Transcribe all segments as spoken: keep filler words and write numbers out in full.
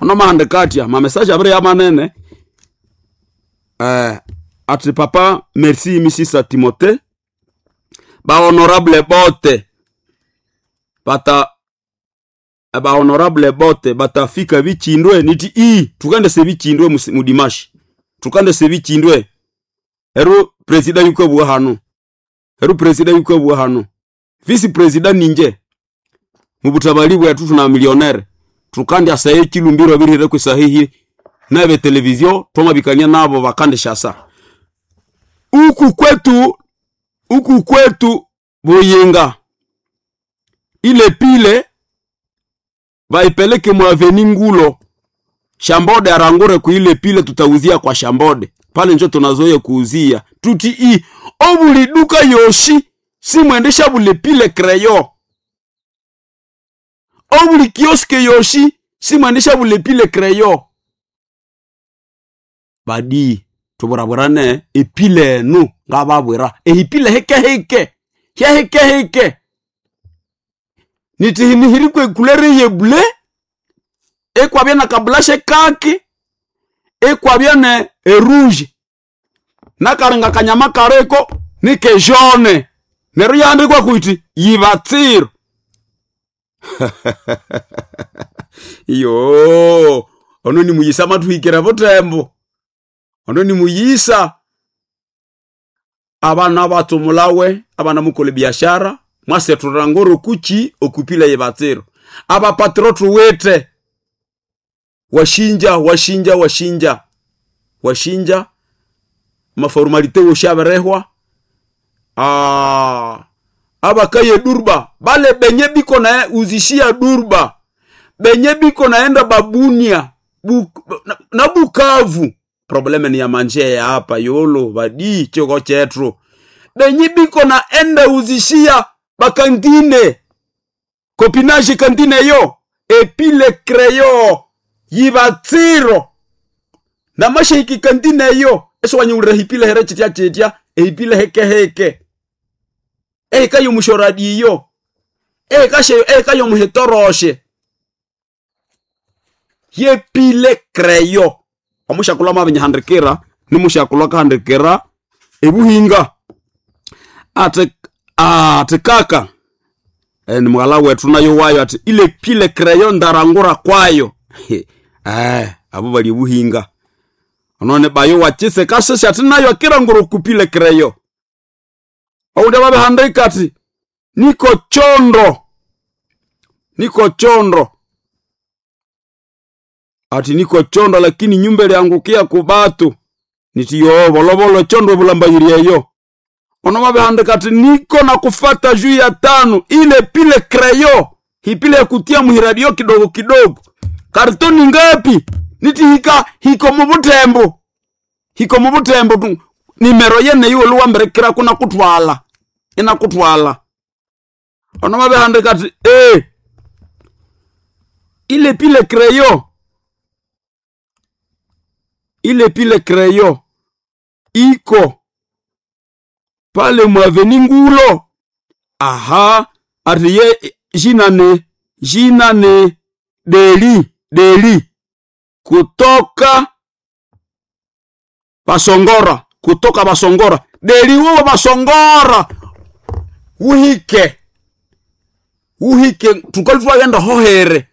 Ono mahandika atya mamesaje abiri yamanene eh, ati papa merci misisa Timote bahonorable bote bata bahonorable bote batafika bichindwe niti i tukandese bichindwe musi- mudimashi tukandese bichindwe eru presida yukabwa hano eru presida yukabwa hano visi presida ninje mubutabali bwetu tuna milionere tukandya saye chilumbiro birire kwisahihi nebe televizio twamabikania nabo bakandishasa uku kwetu uku kwetu buyinga ile pile baipeleke mwaveni ngulo shambode arangure kuile pile tutauzia kwa shambode pale njo tunazoea kuuzia tuti i obuli duka yoshi simwendesha bule pile kreyo obuli kioske yoshi simwendesha bule pile kreyo badi tuburaburane epile enu ngababwira ehipile hekeheke hyahekeheke nitihinihirikwe ekulere yebule ekwabya na kabulashe kaki ekwabya ne erouge nakaringa kanyama kariko nikejone neryo yandikwa kuti yibatsiro iyo ono ni muyisa mathuhikira butembo ono ni muyisa abana batsumulawe abana mukole biashara mwasethura ngoro kuchi okupila yibatsiro abapatro tuwite washinja washinja washinja washinja maformalite woshaberehwa ah abakaye durba bale benye biko na uzishia durba benye biko naenda babunia Buk, na, na bukavu probleme ni ya manje ya hapa yolo badi choko chetru benye biko naenda uzishia bakantine kopinage kantine yo epile kreyo yibatsiro namashiki kantine yo eso wanyulira hipile here chitya chitya ehipile heke heke ehika yomushoradiyo ehika sheyo ehika yomuhitoroshe yepile kreyo omushakulwa mavinyahandikira nimushakulwa kahandikira ebuhinga ati ati kaka e, ni mughala wetu nayo wayo ati ile pile kreyo ndarangura kwayo eh abo bali ebuhinga onone bayo wachise kasese ati nayo akirangura okupile kreyo oundi babihandika ati niko chondo niko chondo ati niko chondo lakini nyumba iliangukia kubatu nitiyo volovolo chondo vulambayirieyo ono babihandika ati niko na kufata juu ya tano ile pile kreyo hipile ya kutia muhiradio kidogo kidogo kartoni ngapi niti hika hiko mubutembo hiko mubutembo tu nimero yene iwe luwamberekera kuna kutwala ina kutwala ono babihandika ati eh ile pile kreyo ile pile kreyo iko pale mwaveni ngulo aha ati ye jina ni jina ni deli deli kutoka basongora kutoka basongora deli wewe basongora uhike uhike tukali twagenda hohere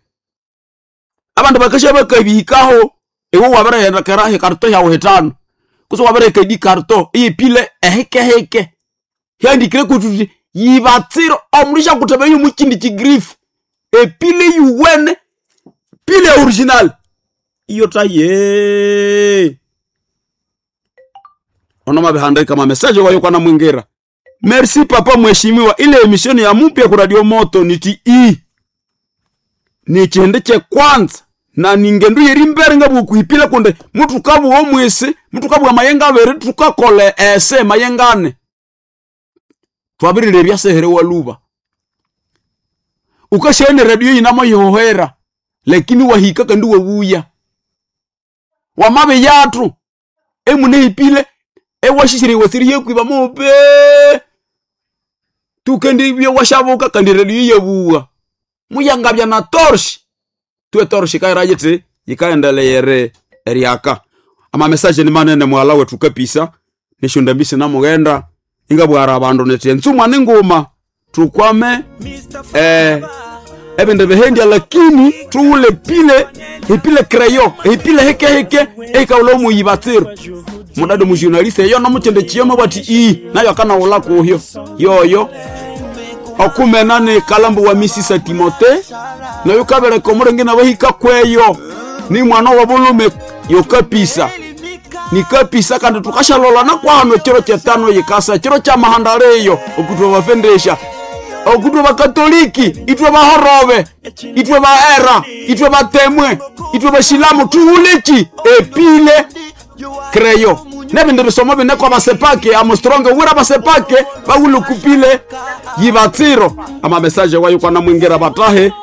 abandu bakasha bakabihikaho iwe wabireghenda kera hikarto hyawu hitano kutse wabireka edi karto iyipile ehekeheke hyandikire kututi yibatsiro omundu syakuteba yomukindi kigrifu epile yuwene pile ya original iyo taye ono mabihandika mamesaje wayo kwana mwingira merci papa mheshimiwa ile emission ya mupya ku radio moto niti i ni chihende che kwanza na ningendu yeri mbere ngabukuhipila kunde mutu kabuwa omwisi mutu kabuwa mayenga abiri tukakole ese mayengane twabirire ebyasehere waluba ukashene radio yinamo yihohera lakini wahika kandi wabuya wamabe yatu emune hipile ewashishire wasiri yekwiba mope tukendi bye washabuka kandi radio yebuwa muyangabya na torch tuwe torch kaira yiti Yikaendeleyere eriaka ama message ni manene mwala wetu kapisa nishundambisi namughenda ingabwara abandu niti enzumwa ni nguma tukwame eh, ebindu bihendya lakini tuwule pile hipile kreyo hipile heke heke eikaula omuyibatsiro mudado mujournaliste eyo nomukyende kiyoma bwati ii nayo akanawula kuhyo yoyo okumena ni kalambu wa misisa timote nayo kabeleka omulenge nabahika kweyo ni mwana wa bulume yokapisa nikapisa kandi tukashalolana kwano chiro chetano yikasa chiro cha mahandaleyo okutwa bafendesha okutwa bakatoliki itwe bahorobe itwe baera itwe batemwe itwe bashilamu tuwuleki epile kreyo nebindi bisomo binekwa basepake amustronge wira basepake bawulukupile yibatsiro ama mesaje wayo kwana mwingira batahe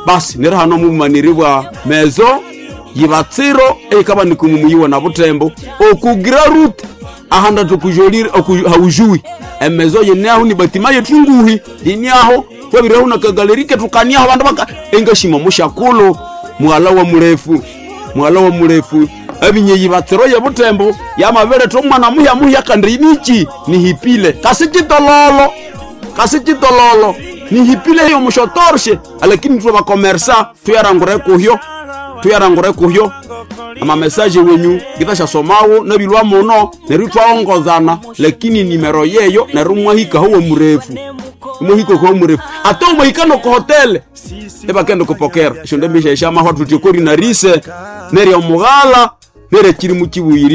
basi neri hano mubumaniri bwa mezo yibatsiro eikaba nikumumuyiwe na butembo okugira rute ahanda tukujolire haujui emezo yeneaho ni batima yetu nguhi yiniaho twabiraho na kagalerike tukaniaho bandu baka engashima mushakulu mwala wa murefu mwala wa murefu ebinye yibatsiro ye butembo yamabiretha omwana muhya muhya kandi nichi nihipile kasi chitololo kasi chitololo nihipile yo mushotorshe lakini twe bakomersa tuyarangure kuhyo tuyarangure kuhyo ama message wenyu ngithashasomawo nabilwa muno neryo twaongozana lakini nimero yeyo neryo mwahika huwo murefu mwahika huwo murefu ate umahika noko hotele ebakenda kupokera esyo ndembisha eshamahwa tutyokori narise neryo omughala neryo kiri mukibuyirire.